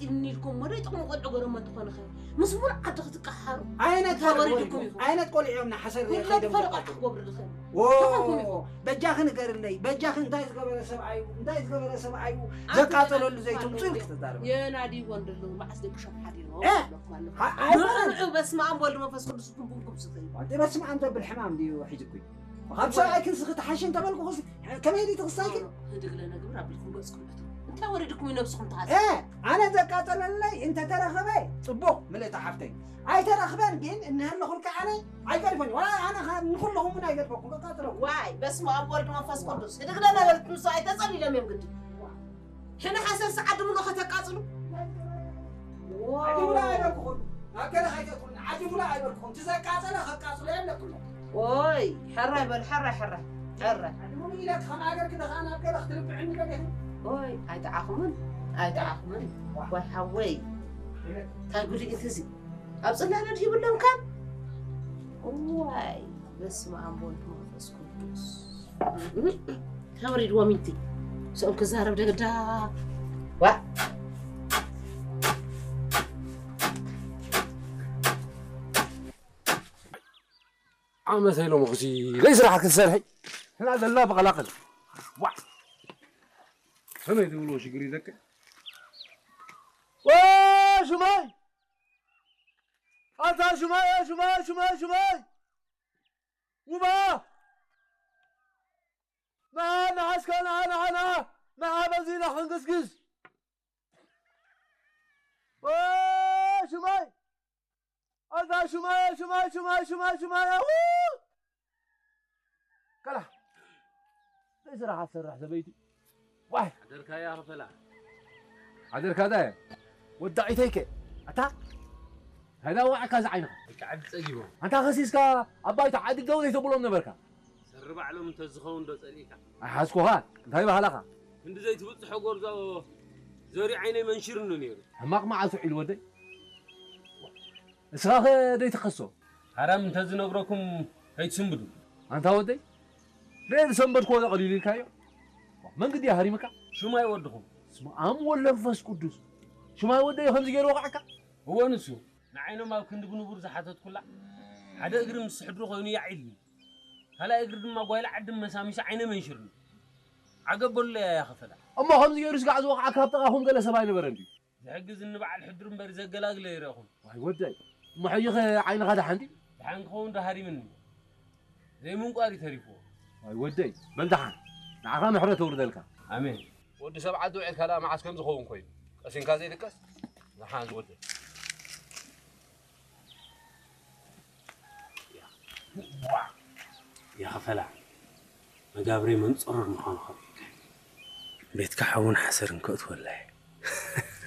ኢልኒ ኢልኩም ወደ ጥቕሚ ቆልዑ ገረሞ እንተኾነ ኸ ምስ ሙሉ ዓዲ ክትቀሓሩ ዓይነት እንታይ ቆልዑ ወሪድኩም ወሪድኩም? ኢኹም? ዓይነት ቆልዑ እዮም ንሓሰር ኩሎም ከይዶም ፈለቆ ዘቃጥሉ? ክገብሩ ዝኽእል ዎ እንታይ ኮንኩም ኢኹም? በጃኺ ንገርለይ በጃኺ እንታይ ዝገበረ ሰብኣይ እዩ እንታይ ዝገበረ ሰብኣይ እዩ ኣንተ ዘቃጠለሉ ደኣ ዘይትምፅኡ ትፋለጡ ኢልክ ተዛረበ የናዲ ወንደሉ መዓስ ደቂ ሸም ሓዲሩ እ? ኣለኩም ኣለኩም ኣ- ኣይኮነን። ምርዑ በስመ ኣብ ወልድ መንፈስ ቅዱስ ብቡንኩም ዝኽእል ወዲ በስመ ኣብ ዘብል ሕማም ድዩ ሒዝኩ ካብ ሰብኣይ ክንስኺ ትሓሽ እንተበልኩ ኹስ ከመይ ድዩ ትኽሳይክ ህድግ ለነግብር ኣቢልኩም ገጽኩም እቶ እንታይ ወሪድኩም እዩ ነብስኹም ትሓዝ እ ኣነ ዘቃጠለለይ እንተተረኸበ ፅቡቕ ምልእቲ ሓፍተይ ኣይተረኽበን ግን እንህለኹልካ ኣነ ኣይገድፈን ዋላ ኣነ ኸ ንኹለኹም እውን ኣይገድፈኩም ከቃጥለኩም ዋይ በስመ ኣብ ወልድ መንፈስ ቅዱስ ህድግ ለነበልኩም ሰብኣይ ተጸሊሎም እዮም ግዲ ሕነ ሓሰር ሰዓት ድምሎ ከተቃጽሉ ዓዲ ሙላ ኣይበልኩኹም ናብ ገለ ከይተትኩን ዓዲ ሙላ ኣይበልኩኹም ትዘቃጸለ ከቃጽሎ የለኩም ኦይ ሕራይ በል ሕራይ ሕራይ ሕራይ ዓዲ ሙሉ ኢለ ከም ሃገር ክደኻ ናብ ገለ ክትርብዕኒ ገለ ኦይ ኣይጠዓኹምን ኣይጠዓኹምን ዋይ ሓወይ እንታይ ጉድ እዩ እዚ ኣብ ጽላለ ድሂብሎም ካብ ዋይ በስመ ኣብ ወልድ መንፈስ ቅዱስ ተወሪድዎም ኢንቲ ምስኦም ክዛረብ ደገዳ ዋ ዓመት ኢሎም ኹሲ ለይ ስራሕ ክትሰርሐይ ህና ዘላ በቐላቕል ዋ ከመይ ትብልዎ ሽግር እዩ ደቂ ሽማይ ኣታ ሽማይ ሽማይ ሽማይ ሽማይ ውባ ንዓ ንዓ እስከ ንዓ ንዓ ንዓ ንዓ በዚና ክንግስግስ ሽማይ ኣታ ሽማይ ሽማይ ሽማይ ሽማይ ሽማይ ኣው ከላ ስራሕ ኣትሰርሕ ሰበይቲ ዋይ ሓደርካያ ክፈላ ሓደርካ ዳ ወዳዒተይከ ኣታ ታይዳ ዋዕካ ዝዓይንኻ ብቃዕዲ ጸጊቦም ኣንታ ከሲስካ ኣባይታ ዓዲ ደው ዘይተብሎም ነበርካ ሰሪ ባዕሎም እንተዝኸውን ዶ ጸሊእካ ኣይሓዝኩኻ እንታይ ባህላኻ ክንዲ ዘይትብጽሖ ጎርዞ ዘሪ ዓይነይ መንሽርኒ ነይሩ ሕማቕ መዓልቲ ውዒሉ ወደይ እስኻ ኸ ደይትኸሶ ሓራም እንተዝነግረኩም ከይትስንብዱ ኣንታ ወደይ ደይ ዝሰንበድክዎ ዶ ቀሊሉ ኢልካዮ መንግዲ ሃሪምካ ሽማይ ወድኹም ስም ኣም ወለንፈስ ቅዱስ ሽማይ ወደይ ከምዚ ገይሩ ወቃዕካ እወ ንሱ ንዓይኖም ኣብ ክንዲ ብንቡር ዝሓተትኩላ ሓደ እግሪ ምስ ሕድሪ ኮይኑ ያዒልኒ ካልኣይ እግሪ ድማ ጓይላ ዓዲ መሳሚሱ ዓይነ መንሽርኒ ዓገብ በሉለይ ኣያ ኸፈላ እሞ ከምዚ ገይሩ ስጋዕ ዝወቕዓካ ኣብ ጥቓኹም ገለ ሰብ ኣይነበረን ድዩ ዝሕግዝኒ በዓል ሕድሪ እምበር ዘገላግለ ይረኹም ዋይ ወደይ እሞ ሕጂ ኸ ዓይንኻ ደሓን ድዩ ደሓን ክኸውን ዶ ሃሪምኒ ዘይምንቋር እዩ ተሪፍዎ ዋይ ወደይ በል ደሓን ንዓኻ ምሕረት ተውርደልካ ኣሜን ወዲ ሰብ ዓዲ ውዒልካ ደኣ መዓስ ከም ዝኸውን ኮይኑ ቀሲንካ ዘይድቀስ ደሓን ዝወደይ የኸፈላ መጋብረይ መንጸሮር ምዃኑ ኸ ቤትካ ሓውን ሓሰርን ከእትወላይ